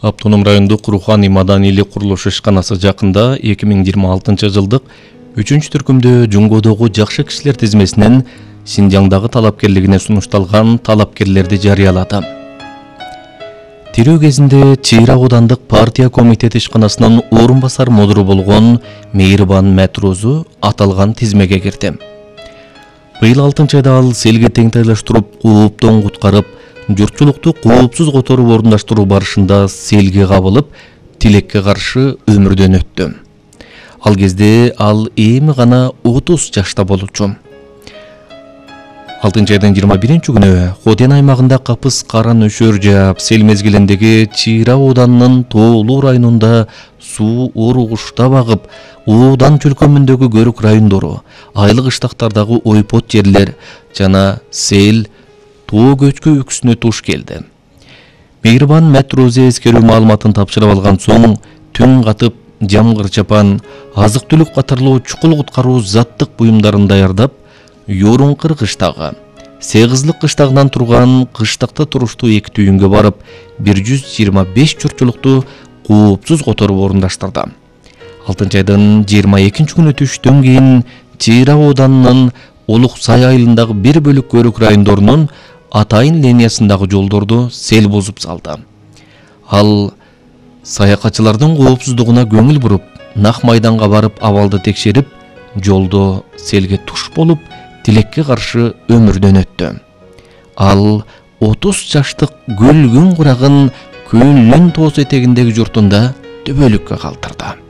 Автоном райондук Руханий маданийлик курулуш ишканасы жакында 2026 жылдык 3-түркүмдө Жуңгодогу жакшы кишилер тизмесинен Синжаңдагы талапкерлигине сунушталган талапкерлерди жарыялады. Тирүү кезинде Чыйра аудандык партия комитети ишканасынын орун басар модуру болгон Мейирбан Мәтрозу аталган тизмеге кирди. Быйыл 6-айда ал селге теңтайлаштырып, кооптон куткарып, журтчулукту коопсуз которуп орундаштыруу барышында селге кабылып, тилекке каршы өмүрдөн өттү. Ал кезде ал эми гана 30 жашта болчу. 6-айдын 21-күнү Хотен аймагында капыс кара нөшөр жаап, сел мезгилиндеги Чыйра ауданынын Тоолуу районунда суу оругуштап агып, Оодан чөлкөмүндөгү көрүк райондору, айлык ыштактардагы ойпот жерлер жана сел тоо көчкү үксүнө туш келди. Мейирбан Мәтрозе эскерүү маалыматын тапшырып алган соң түн катып, жамгыр чапан, азык-түлүк катарлуу чукул куткаруу заттык буюмдарын даярдап, Yorunqыр кыштагы, Сегизлик кыштагынан турган кыштакта туруштуу эки түйүнгө барып, 125 журтчулукту коопсуз которуп орундаштырды. 6-айдын 22-күнү түштөн кийин Чыйра ауданынын Олук Сай айылындагы бир бөлүк көрүк райондорунун Атайын линиясындагы жолдорду сел бузуп салды. Ал саякатчылардын коопсуздугуна көңүл буруп, нак майданга барып абалды текшерип, жолдо селге туш болуп, тилекке каршы өмүрдөн өттү. Ал 30 жаштык көлгүн курагын Көлүн тоос этегиндеги журтунда төбөлүккө калтырды.